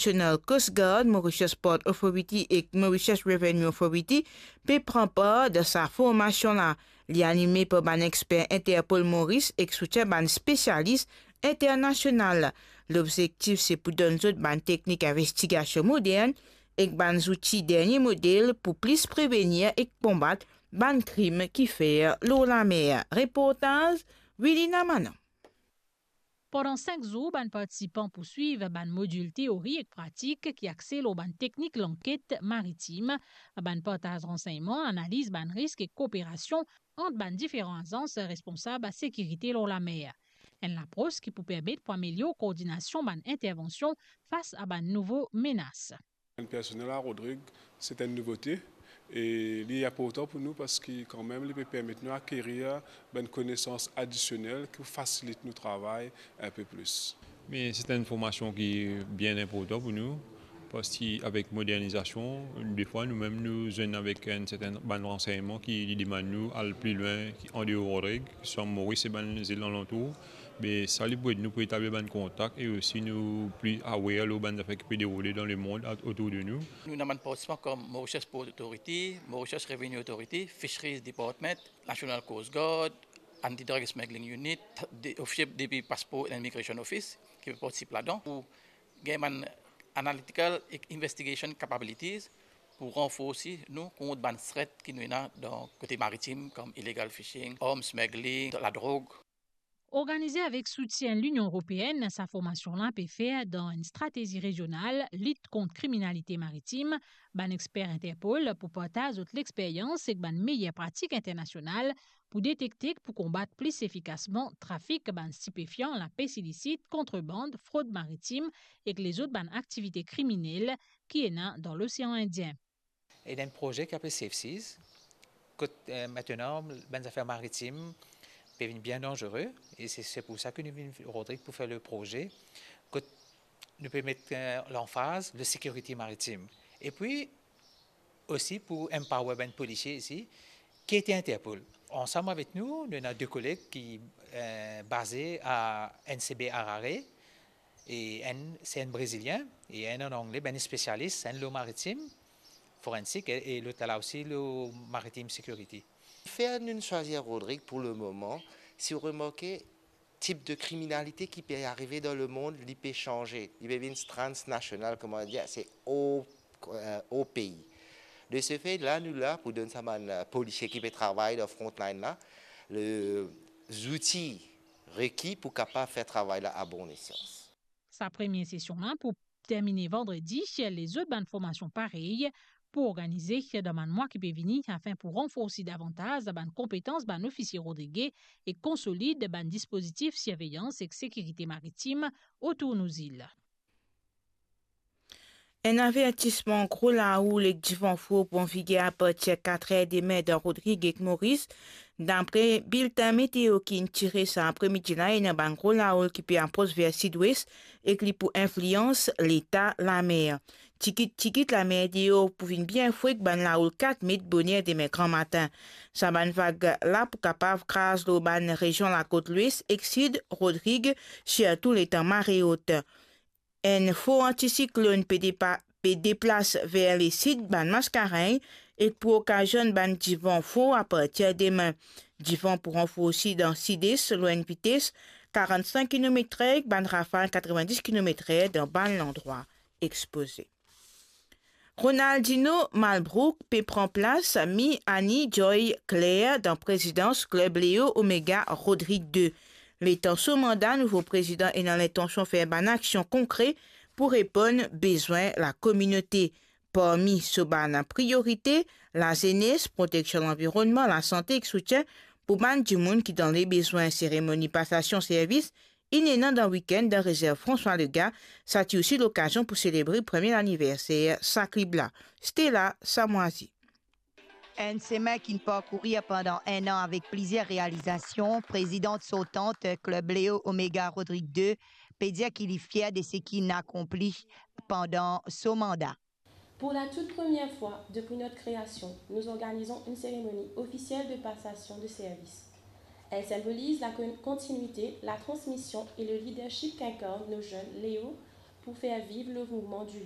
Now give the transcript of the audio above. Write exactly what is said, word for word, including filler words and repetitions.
National Coast Guard, Mauritius Port Authority ek Mauritius Revenue Authority pe pran par dan sa formasion la. Li anime par bann exper Interpol Maurice ek soutien bann spesialis internasional. Lobzektif se pou donn zot bann teknik investigasion modern ek bann zouti dernie model pou plis prevenir ek konbat bann krim ki fer lor lamer. Reportaz Wilina Manon. Pandan sink zour, bann partisipan pou swiv bann modil teori ek pratik ki axe lor bann teknik lanket maritim, bann partaz ransegnman, analiz bann risk ek kooperasion ant bann diferan azans responsab sekirite lor lamer. Enn lapros ki pou permet pou amelior koordinasion bann intervansion fas a bann nouvo menas. Enn personel a Rodrig, se enn nouvote e li inportan pou nou parski kanmem li pe permet nou akerir bann konesans adisionel ki pou fasilit nou travay inpe plis. Me se enn formasion ki bien inportan pou nou, parski avek modernizasion, defwa noumem nou zwenn avek enn serten bann ransegnman ki li demann nou al pli lwin ki andeor Rodrig, swa Moris e bann zil alantour. Be sa li pou ed nou pou etablir bann kontak e osi nou pli aware lor bann zafer ki pe deroule dan lemond a-, otour de nou. Nou ena bann partisipan kom Mauritius Port Authority, Mauritius Revenue Authority, Fisheries Department, National Coast Guard, Anti-Drug Smuggling Unit, de, ofisie depi Passport and Immigration Office ki pe partisip ladan pou gagn bann analytical ek investigation capabilities pou ranforsi nou kont bann threat ki nou ena dan kote maritim, kom illegal fishing, arms smuggling, ladrog. Organize avek soutien Linion Eropeenn, sa formasion la pe fer dan enn stratezi rezional lit kont kriminalite maritim. Bann exper Interpol pou partaz zot lexperyans ek bann meyer pratik internasional pou detekte ek pou konbat plis efikasman trafik bann stipefian, lapes ilisit, kontreband, frod maritim ek lezot bann aktivite kriminel ki ena dan Losean Indien. Ena enn proze ki apel Safe Seas, kot, eh, mintenan bann zafer maritim pe vinn bien danzere, e se, se pou sa ki nou vinn Rodrig pou fer le proze, kot nou pe met, eh, lanfaz le sekirite maritim. Epi osi pou empower bann polisie isi, ki ete Interpol. Ansam avek nou, nou ena de koleg ki, eh, baze a N C B Harare, e enn, se enn Brezilien, e enn an Angle, bann spesialis, enn lor maritim, forensik, e, e lot la osi lor maritime security. Fer nou swazir Rodrig pou le moman, si ou remarke, tip de kriminalite ki pe arive dan lemond, li pe sanze, li pe vinn transnasional, kouma dir, se o, eh, o pei. De se fe, la, nou la pou donn sa bann, eh, polisie ki pe travay dan frontline la, le, zouti reki pou kapav fer travay la a bon esans. Sa premie sesion la pou termine vandredi, lezot bann formasion parey pou organize dan bann mwa ki pe vini, afin pou ranforsi davantaz bann konpetans bann ofisie rodrige e konsolid bann dispozitif sirveyans ek sekirite maritim otour nou zil. Enn avertisman gro laoul ek divan for pran viger apartir katr er demin dan Rodrig ek Moris. Dapre biltin meteo ki inn tire sa apremidi la, ena bann gro laoul ki pe apros ver sidwes ek li pou inflians leta lamer. Tikit tikit lamer deor pou vinn bien fre ek bann laoul kat met boner demin gramatin. Sa bann vag la pou kapav kraz lor bann rezion lakot lwes ek sid Rodrig, sirtou letan mare ot. Enn for antisiklonn pe depa-, pe deplas ver lesid bann maskarenn ek pou okazionn bann divan for apartir demin. Divan pou ranforsi dan sid-es lor enn vites karant-sink kilometrer ek bann rafal katrevenndis kilometrer dan bann landrwa expoze. Ronaldinho Malbrook pe pran plas Miani Joy Clare dan prezidans klib Leo Omega Rodrig de. Letan so manda, nouvo prezidan ena lintansion fer bann aksion konkre pou reponn bezwin lakominote. Parmi so bann priorite, lazenes, proteksion lanvironnman, lasante ek soutien pou bann dimoun ki dan lebezwin. Seremoni pasasion servis inn ena dan wikenn dan rezerv François Legaye, sa ti osi lokazion pou selebre premie laniverser sa klib la. Stella Samwazi. Enn semin ki'nn parkourir pandan enn an avek plizier realizasion, prezidan sortan klib Leo Omega Rodrig de pe dir ki li fier de seki inn akonpli pandan so manda. Pour la toute première fois depuis notre création, nous organisons une cérémonie officielle de passation de service. Elle symbolise la con-, continuité, la transmission et le leadership qu'incarnent nos jeunes Léo pour faire vivre le mouvement du